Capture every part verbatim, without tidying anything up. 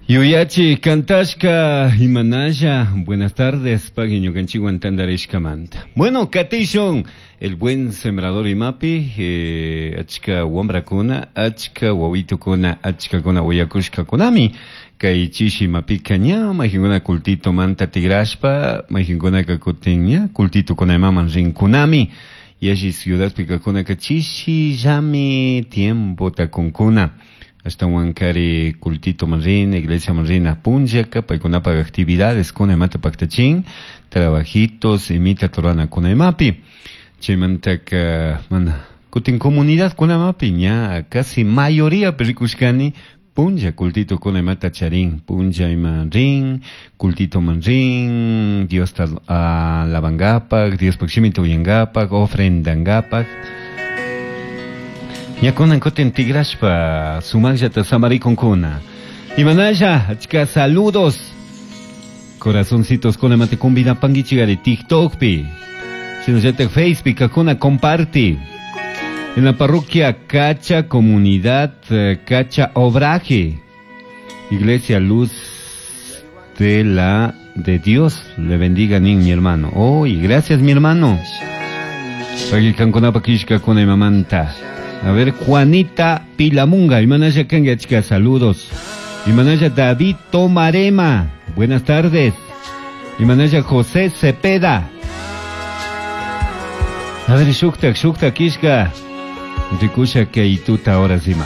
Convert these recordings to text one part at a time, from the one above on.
Yuyachi kantashka imanalla, buenas tardes, pagui ñukanchikwan tantarishkamanta. Bueno, katishun, el buen sembrador imapi, eh, achka wambrakuna, achka wawitukuna, achkakuna uyakushkakunami, kay chishi imapika ña, mayqinkuna cultito manta tigrashpa, mayqinkunaka kutin ña, cultito imaman rinkunami, yalli ciudadpi kakunaka chishillami tiempota kunkuna. Ashtawankari cultito man rina, iglesia man rina punllaka, paykunapak actividades kuna imata paktachin, trabajitos imita ruranakuna imapi. Chaymantaka mana kutin comunidad kunamapi ña casi mayoría rikushkani punlla cultito kuna imata charin, punlla ima rin, cultito man rin, Diosta alabangapak, Diospak shimita uyangapak, ofrendangapak. Ña kunan kutin tigrashpa sumaqllata samarikunkuna. Imanalla, achka saludos. Corazoncitos kuna mate convidapankichikari TikTokpi. Shinallatak Facebook kuna comparti. En la parroquia Cacha, comunidad eh, Cacha Obraje. Iglesia Luz de la de Dios. Le bendiga ni mi hermano. Oh, y gracias mi hermano. Pagui imamanta. A ver, Juanita Pilamunga, Imanaya Kanga, chica, saludos. Imanaya David Tomarema, buenas tardes. Imanaya José Cepeda. A ver, shuktak, shuktak, kishka. Rikusha kay tuta ahora sima.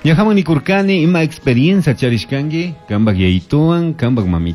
Ñajaman nikurkani ima experiencia charishkanki, kambak yayituwan, kambak mami